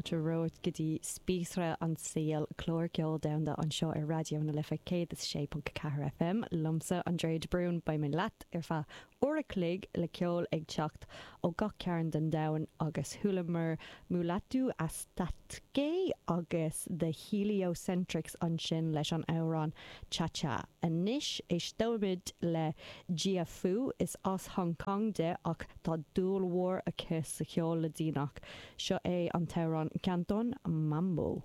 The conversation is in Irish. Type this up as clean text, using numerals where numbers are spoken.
Fáilte romhat go dtí Spíosra an tSaoil, clár ceoil domhanda anseo ar Raidió na Life 106.4 FM. Liomsa, Andrea de Brún, beidh mé leat ar feadh uair a chloig le ceol ag teacht ó gach cearn den domhan agus chualamar Mulatu Astatke agus The Heliocentrics ansin leis an amhrán Cha Cha. Anois éisteoimid le Jia Fu, is as Hong Kong di ach tá dúil mhór aici sa cheol Laidíneach. Seo é an t-amhrán Canton Mambo.